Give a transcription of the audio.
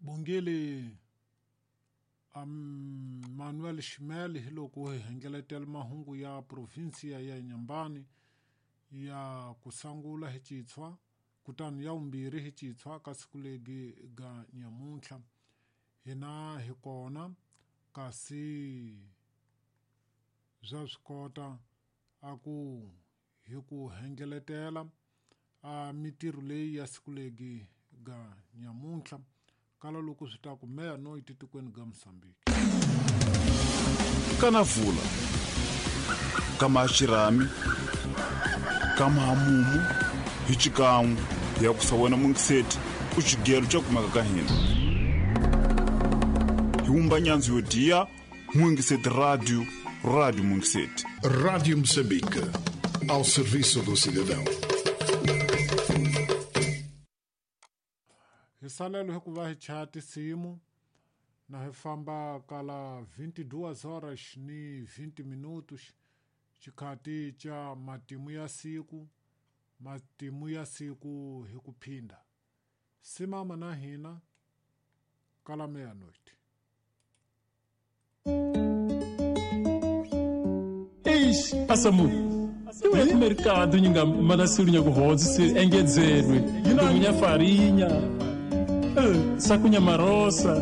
Bongile Manuel Shimel hi loko hi hengeletela mahungu ya provinsia ya Inhambane ya kusangula hi Chitshwa kutani ya vumbirhi hi Chitshwa ka siku legi ga nyamuntlha hina hi kona kasi bya swi kota a ku hi ku hengeletela a mitirho leyi ya siku legi ga nyamuntlha kala loko swi ta ku meia-noite tikweni ga Mozambique. Kana vula kama xirhami kama hamumu hi xikan'we ya ku sa wena mungiseti ku xigelo xa kumeka ka hina hi wumba nyandzu yo diya mungiseti radio radio mungiseti. Rádio Moçambique, ao serviço do cidadão. Hi salelo hi ku va hi chaya tinsimu na hi famba kala 22 horas ni 20 minutos xikhati xa matimu ya siku matimu ya siku hi ku phinda simama na hina kala meia-noite. Eish, asamu iwe ku mercado nyinga manasiru nyakuhodzi se engedzelwe ndomunya farinha sakunya marosa.